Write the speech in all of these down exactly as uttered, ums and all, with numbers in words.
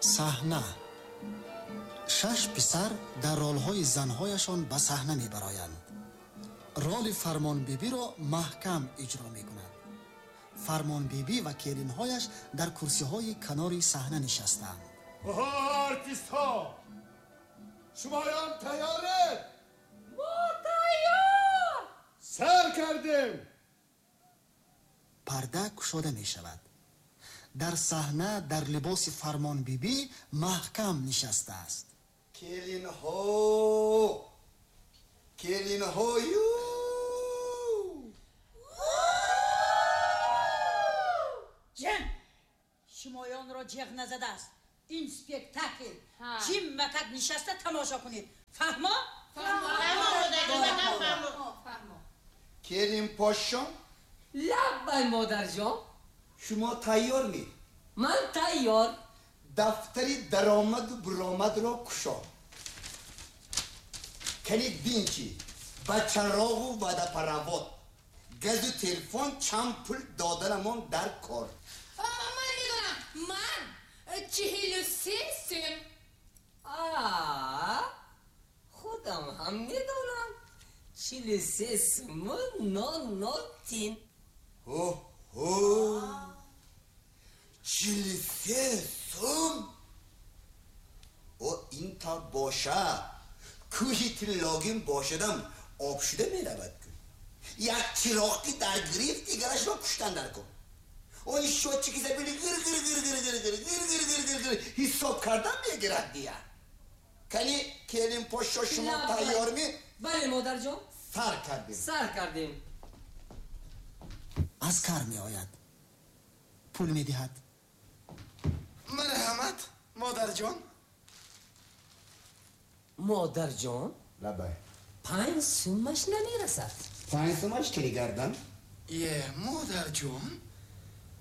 Саҳна. Шаш писар дар ролҳои занҳояшон ба саҳна мебароянд. Роли Фармонбибиро Маҳкам иҷро мекунад. Фармонбибӣ ва келинҳояш дар курсиҳои канори саҳна нишастаанд. Оҳо, артистҳо! Шумоён тайёред? Мо тайёр! Сар кардем! Парда кушода мешавад. Дар саҳна дар либоси Фармонбибӣ Маҳкам нишастааст. Келинҳо! Келинҳою! Ҷан! Шумоёнро ҷеғ назадааст. Ин спектакл. Чим макак нишаста тамошо кунед. Фаҳмо? Фаҳмо. Келин пошон? Лаббай, модарҷон. Шумо тайёр ми? Ман тайёр. Дафтари даромаду буромадро кушо. Кани бин ки ба чароғу водопровод, газу телефон чанд пул доданамон дар кор. Ман медонам, ман чиҳилу се сум. А, худам ҳам медонам. Чилу се суму нол нол тин. Ҳо, чилу се сум? О, ин тавр бошад, кӯҳи тиллогин бошадам об шуда меравад. Ку як чироқи дар гирифт, дигарашро куштан дар кун. Он счётчики забили гир гир гир гир гир гир гир гир гир гир гир ҳисоб кардан мегирад дия. Кани келин пошо, шумо тайёр ми? Бале, модарҷон. Сар кардем. Сар кардем. Аскар меояд. Пул медиҳад. Марҳамат, модарҷон. Модарҷон? Лабай. Панҷ сумаш намерасад. Панҷ сумаш кери гардан? Е, модарҷон,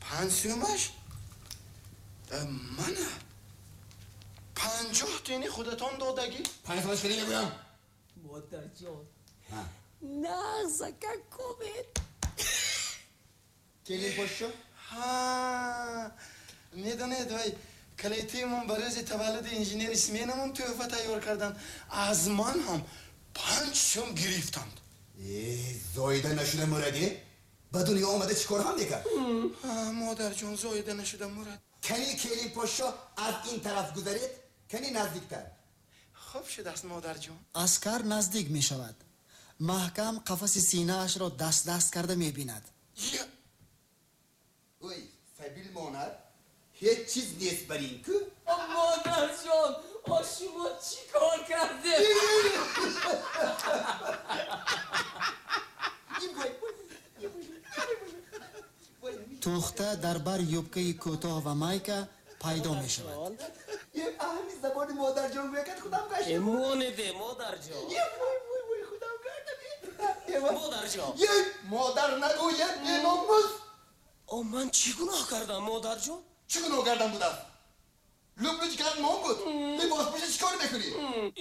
панҷ сумаш? Мана панҷоҳ тини худатон додагӣ. Панҷ сумаш кери мегӯям. Модарҷон, нағзака кубед. Келин пошо? Ҳа, медонед, вай калитимон ба рӯзи таваллуди инженери сменамон тӯҳфа тайёр карданд. Аз ман ҳам панҷ сум гирифтанд. Э, зоида нашуда мурадӣ? Ба дунё омада чӣ кор ҳам мекард? Модарҷон, зоида нашуда мурад. Кани келин пошо, аз ин тараф гузаред, кани наздиктар. Хуб шудааст, модарҷон. Аскар наздик мешавад. Маҳкам қафаси синаашро даст даст карда мебинад. Ой, сабил монад, ҳеҷ чиз нест бар ин ку. Модарҷон, о шумо чӣ кор кардед? Тухта дар бар юбкаи кӯтоҳ ва майка пайдо мешавад. Аҳми забони модарҷон гӯякад худам гашт. Монеде, модарҷон. Вой, худам гардам. Модарҷон. Модар нагӯяд, беномус. О, ман чӣ гуноҳ кардам, модарҷон? Чӣ гуноҳ кардам будааст? Лублуч кард мон буд. Либос пӯша чӣ кор мекунӣ?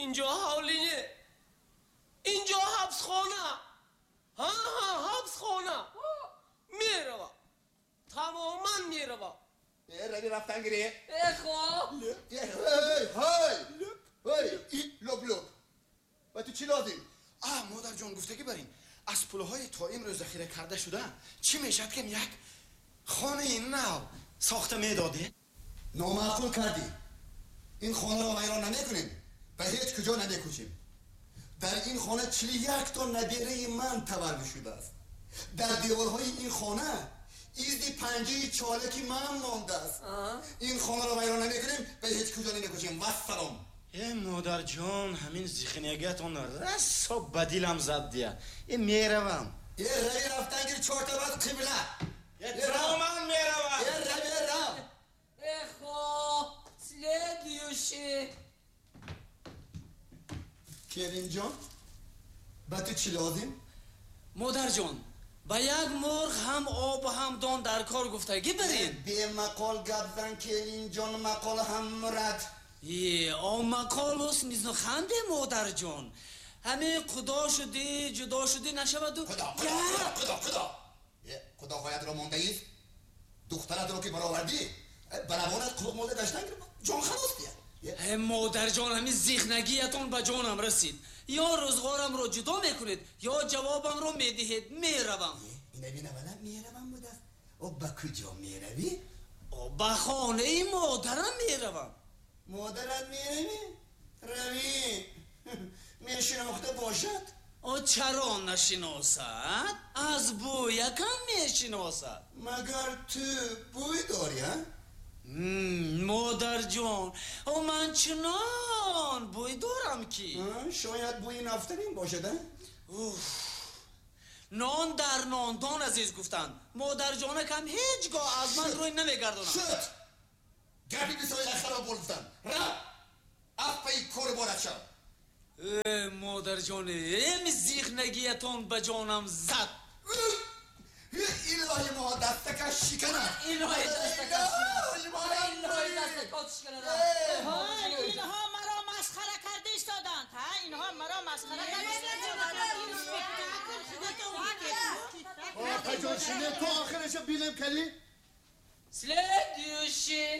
Инҷо ҳавлӣ не. Инҷо ҳабсхона. Ҳа, ҳа, ҳабсхона. Мерава. Тамоман мерава. Э, рави рафтан гире. Э, хоб. Ҳей, ҳей. Ҳей, лоб лоб. Ба ту чӣ лозим? А, модарҷон, гуфтагӣ бар ин. Аз пулҳои то имрӯз захира карда шуда, чӣ мешавад ки як хонаи нав сохта медодед? Номаъқул кардӣ. Ин хонаро вайрон намекунем, ба ҳеҷ куҷо намекӯчем. Дар ин хона чилу як то набераи ман таваллуд шудааст. Дар деворҳои ин хона изди панҷаи чолаки ман мондааст. Ин хонаро вайрон намекунем, ба ҳеҷ куҷо намекӯчем. Вассалом. Э, модарҷон, ҳамин зихнягиатон расо ба дилам зад дия. Э, меравам. Э, рави рафтан гир, чорта бад қибла. Э, тамоман меравам. Э, рави, рав. Эхо, следующий. Келинҷон, ба ту чӣ лозим? Модарҷон, ба як мурғ ҳам об ҳам дон дар кор гуфтагӣ барин. Бемақол гап зан, келинҷон, мақол ҳам мурад. Е, о мақол ҳусни ханде, модарҷон. Ҳамин худо шудӣ, ҷудо шудӣ нашаваду. Худо, худо, худо, худо. Худоҳоятро мондаист? Духтаратро ки баровардӣ, Баравонат қулуқ молда гаштан ҷон халос бия. Модарҷон, ҳамин зихнагиятон ба ҷонам расид. Ё рӯзғорамро ҷудо мекунед, ё ҷавобамро медиҳед. Меравам. Ина бина вала меравам будааст. О ба куҷо меравӣ? Ба хонаи модарам меравам. Модарат меравӣ? Равӣ. Мешинохта бошад? О чаро нашиносад? Аз бӯякам мешиносад. Магар ту бӯй дорӣ, а? Модарҷон, о ман чунон бӯй дорам ки. Шояд бӯи нафталин бошад, а? Уф, нон дар нондон азиз гуфтанд. Модарҷонакам ҳеҷ гоҳ аз ман рӯй намегардонад. Шуд! Гапи бисои ахаро гуфтам. Раф! Афпаи кори борат шав. Э, модарҷон, эми зихнагиятон ба ҷонам зад. Илоҳи мо дастакаш шиканад. Илоҳи дастакаш шиканад. Илоҳи дастакаш шиканад. Инҳо маро масхара карда истоданд. Ҳа, инҳо маро масхара карда истоданд. Спектакл худатон дидед. Опаҷон, шине то охираша бинем кали. Следующий.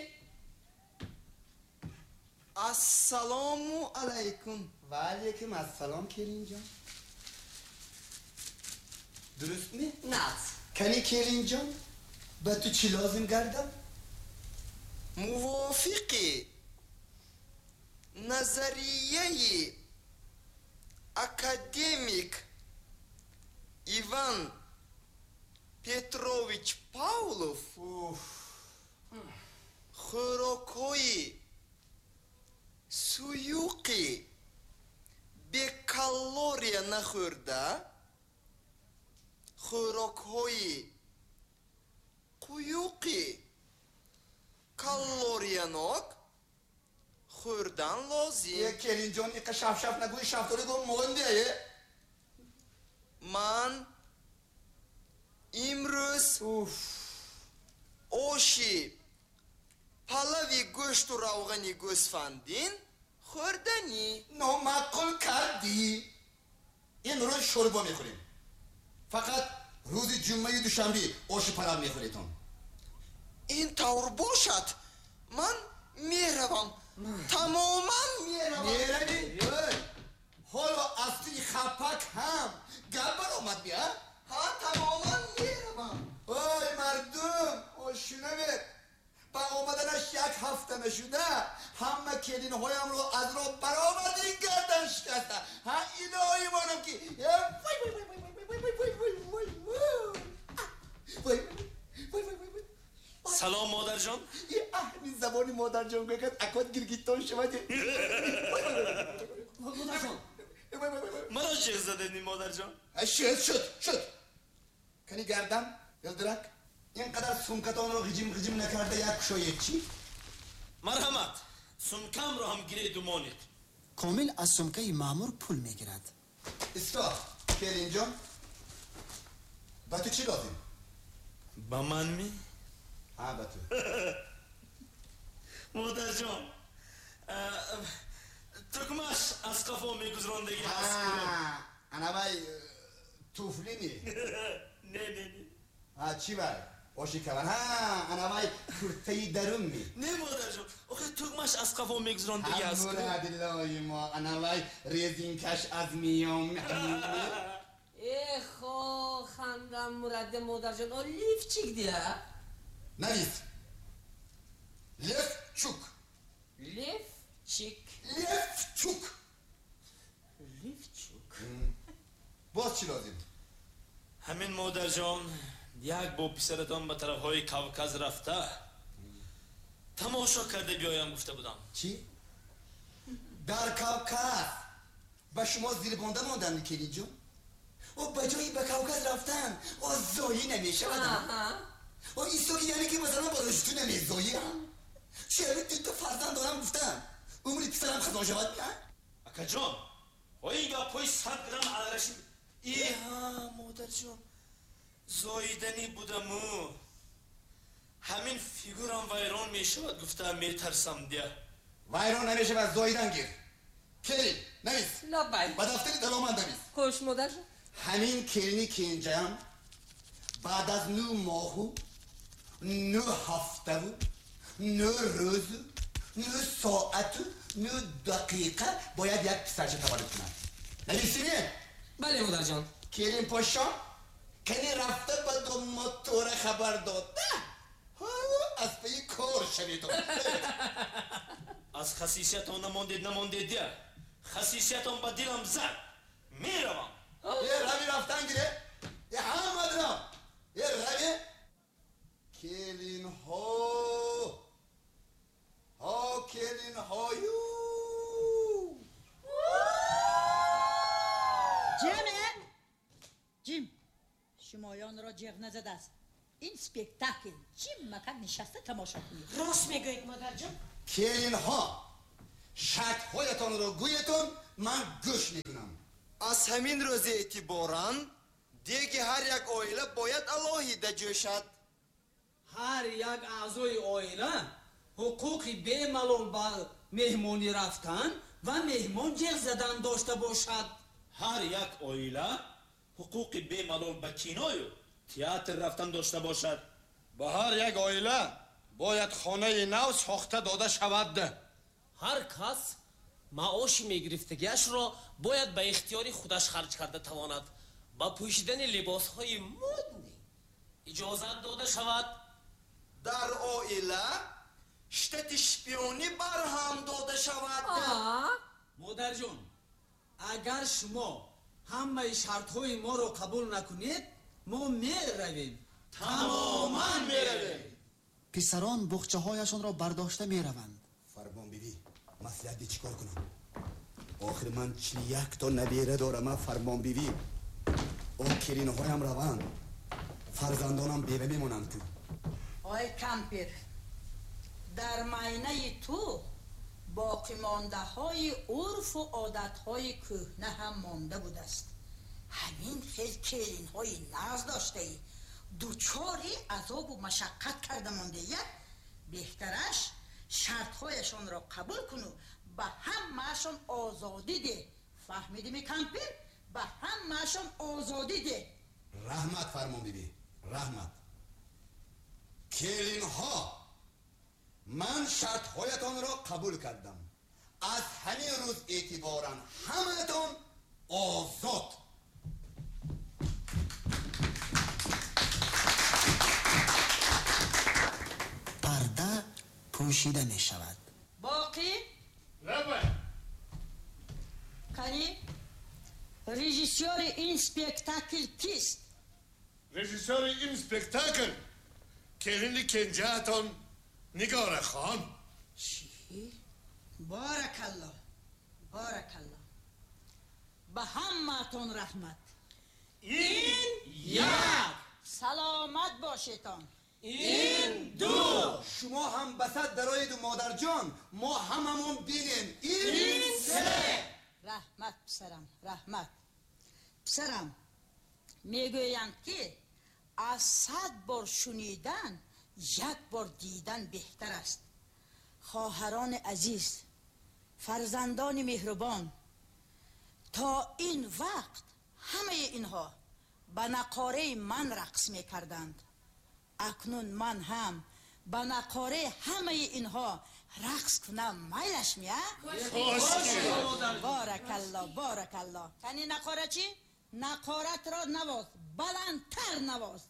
Ассалому алайкум. Ва алайкум ассалом, келинҷон. Дуруст ми? Нац. Кани келинҷон, ба ту чӣ лозим гардам? Мувофиқи назарияи академик Иван Петрович Павлов, хӯрокҳои суюқи бекалория нахӯрда, хӯрокҳои қуюқи калориянок хӯрдан лозим. Е, келинҷон, иқа шафшаф нагӯи, шафтолӣ гум мондее. Ман имрӯз оши палави гӯшту равғани гӯсфандин хӯрданӣ. Номаъқул кардӣ. Имрӯз шӯрбо мехӯрем. Фақат рӯзи ҷумъаи душанбе оши палав мехӯретон. Ин тавр бошад, ман меравам. Тамоман меравам. Меравӣ? Ҳоло аз туи хапак ҳам гап баромад бия? Ҳа, тамоман меравам. Ой мардум, ошунавед. Ба омаданаш як ҳафта нашуда, ҳама келинҳоямро аз роҳ баромадин гардан шикаста. Ҳа, илоҳи монам ки вай вай вай вай вай вай вай вай вай вай вай вай вай. Салом, модарҷон. Аҳми забони модарҷон гӯяд, акот гиргитон шавад. Модарҷон, маро шех задедни, модарҷон. Шуд, шуд, шуд. Кани гардам, Ёлдирак, ин қадар сумкатонро ғиҷим ғиҷим накарда як кушоед чӣ? Марҳамат, сумкамро ҳам гиреду монед. Комил аз сумкаи маъмур пул мегирад. Исто, келинҷон, ба ту чӣ лозим? Ба ман ми? Ҳа, ба ту. Модарҷон, тукмаш аз қафо мегузарондагӣ аст. Анавай туфли ми? Не, не, не. Ҳа, чӣ вай? Оши каван. Ҳа, анавай куртаи дарун ми? Не, модарҷон, охи тугмаш аз қафо мегузарондагӣ аст. Мурадилои мо, анавай резинкаш аз миён ми? Эхо, хандам мураде, модарҷон, о лифчик дия? Навис. Левчук. Левчик. Левчук. Левчук. Боз чӣ лозим? Ҳамин, модарҷон, як бо писаратон ба тарафҳои Кавказ рафта тамошо карда биёям гуфта будам. Чӣ? Дар Кавказ ба шумо зирбонда мондам, келинҷон? О ба ҷои ба Кавказ рафтан о зоӣ намешавад. О истоки, яъне ки масалан ба рӯшту намезоям. Чаро дута фарзанд дорам гуфтам. Умри писарам хазон шавад? Акаҷон, ин гапҳои сад грамм алраши. Иҳа, модарҷон, зоиданӣ будаму ҳамин фигурам вайрон мешавад гуфта метарсам дия. Вайрон намешавад, зоидан гир. Келин, навис. Лаббай. Ба дафтари даромад навис. Хуш, модарҷон. Ҳамин келини кенҷаям баъд аз нӯ моҳу нӯ ҳафтаву نه روز نه ساعت نه دقیقه باید یک پسرچه تولد کنند. نویسینه؟ بله مادر جان. کریم پاشا کنی رفته به دوماد توره خبر داده از پی کار شویدم. از خصیصیتان نماندید نماندید دیه خصیصیتان به دلم زد میروم. یه روی رفتن گیره یه همه مدرم یه روی کلین ها ها کلین هایو جمعه جیم شمایان را جیغ نزده است. این سپکتاکل جیم مکان نشسته تماشا کنید. راست میگوید مادر جان. کلین ها شرط هایتان را گویتون من گوش میکنم. از همین روز اعتباران دیگه هر یک عائله باید علاهیده جوشد. هر یک اعضای عائله حقوق بی‌ملال به مهمانی رفتن و مهمان جیغ زدن داشته باشد. هر یک عائله حقوق بی‌ملال به کینای و تئاتر رفتن داشته باشد. به هر یک عائله باید خانه نو ساخته داده شود. هر کس معاش میگرفتگیش را باید به اختیار خودش خرج کرده تواند. با پوشیدن لباس های مدنی اجازت داده شود. در عائله شتت شپیونی برهم داده شود. مادر جان اگر شما همه شرط های ما را قبول نکنید ما میرویم. تماما میرویم. پسران بخچه هایشان را برداشته میروند. فرمان بیبی مصلحت چیکار کنم؟ آخر من چل یک تا نبیره دارم. فرمان بیبی او کرین هایم روند فرزندانم بیوه میمونند. تو آی کمپیر در ماینه تو باقی مانده های عرف و عادت های کهنه هم مانده بود است. همین خیل کلین های ناز داشته ای دوچاری عذاب و مشقت کرده مانده. یک بهترش شرط هایشان را قبول کنو به همه‌شان آزادی ده. فهمیدی می کمپیر؟ به همه‌شان آزادی ده. رحمت فرمان بیبی رحمت. کلین ها من شرط هایتان را قبول کردم. از همین روز اعتبارا همتان آزاد. پرده پوشیده می شود. باقی؟ لبه کنی؟ رژیسور این سپکتاکل کیست؟ رژیسور این سپکتاکل کلین کنجاتون نگار خان. چی؟ بارک الله بارک الله. به همتون رحمت. این یک. سلامت باشیتان. این دو. شما هم بسط درایید و مادر جان ما هممون بینیم. این, این سه. رحمت پسرم رحمت پسرم. میگویند که از صد بار شنیدن یک بار دیدن بهتر است. خواهران عزیز، فرزندان مهربان، تا این وقت همه اینها به نقاره من رقص میکردند. اکنون من هم به نقاره همه اینها رقص کنم میلش میاد؟ بارک الله بارک الله. تنی نقاره چی؟ نقارت را نواز، بلندتر نواز.